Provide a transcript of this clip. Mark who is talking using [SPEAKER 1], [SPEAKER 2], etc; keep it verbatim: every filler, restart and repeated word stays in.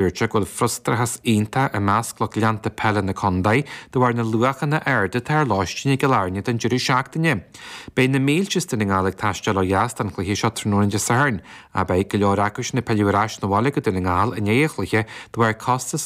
[SPEAKER 1] Dúirt sé go bhfuil frustrachas iontach i measc lucht leanta peile na contae de bharr na luachanna arda atá ar lóistín i gCill Airne don deireadh seachtaine. Beidh na mílte as Dún na nGall ag taisteal ó dheas don chluiche seo tráthnóna Dé Sathairn, ach beidh go leor acu sin ag pilleadh ar ais 'na bhaile go Dún na nGall i ndiaidh an chluiche de bharr costas